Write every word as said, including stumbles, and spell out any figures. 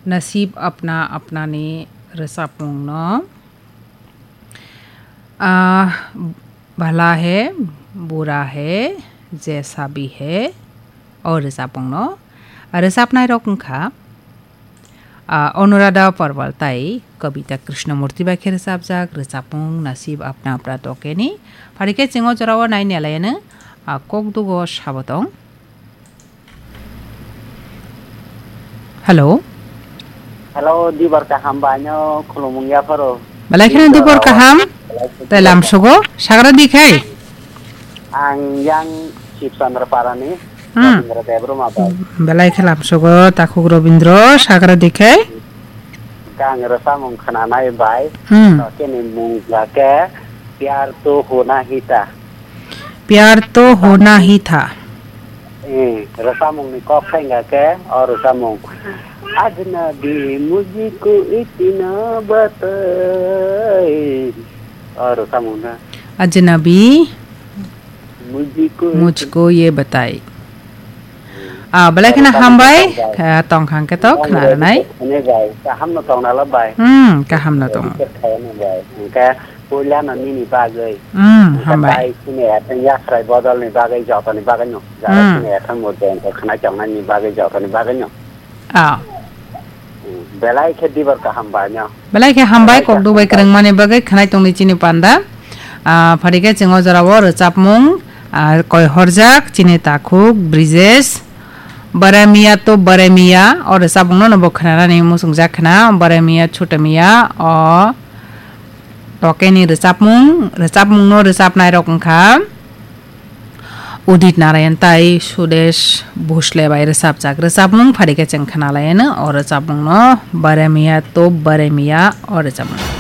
Nasib apna apna ni rwchapmung no, ah, bhala hai, bura hai, jaisa bhi hai, o rwchapmung no rwchapnai rok wngkha, ah, Anuradha Parwal tai Kavita Krishnamurti bai khe rwchapjak rwchapmung Nasib Apna Apna Toke ni. Phari khe chwng o jora o nai nai lai anw, ah, kok dugo sabo tong. Hello. Hello, Dibor kaham bai no khulumung yapharo. Belai kheno Dibor kaham. Belai kheno Tei Dibor lam kaham. Sugo, sagra di khai. Ang yang Shiv Chandra Parani, Hmm. Rabindra Debbarma bai. Belai khe lam sugo, takhuk Robindro, sagra di khai. Kang rwchapmung khwnanai bai. Hmm. To khe ni mung ja khe Pyar To Hona Hi Tha. Pyar To Hona Hi Tha. Eh, rwchapmung ni kok khe wngkha khe, o rwchapmung. Ajnabi mujhko itna batai. O rwchapmung na. Ajnabi Mujhko mujhko ye batai. Ah, belai kheno hambai, kha tong khang khe to khna rwnai. Ani bai, kaham no tong nala bai. Hmm, kaham no tong. Khaina bai. Hingke puila no nini bagwi. Hmm, hambai. Bai sini ateng yakhrai bodol ni bagwi, joto ni bagwi no. Jara Hmm. Sini ateng mo jeng ko khna chong nani bagwi, joto ni bagwi no. Ah. Belai khe Dibor kaham bai no. Belai khe hambai, belai khe kok dubai hambai. Kwrwngmani bagwi khwnai tongdi chini panda. Ah, phari khe chwng o jora o rwchapmung, ah, koi horjak chini takhuk Brijesh. Baremiya to baremiya, o rwchapmung no bo khwnanani muchungjak khna, baremiya chutemiya, o tokeni rwchapmung, rwchapmung no rwchapnai rok wngkha. Udit Narayan tai Sudesh Bhosle bai rwchapjak rwchapmung phari khe chwng khna lai anw o rwchapmung no, Baremiya to Baremiya o rwchapmung.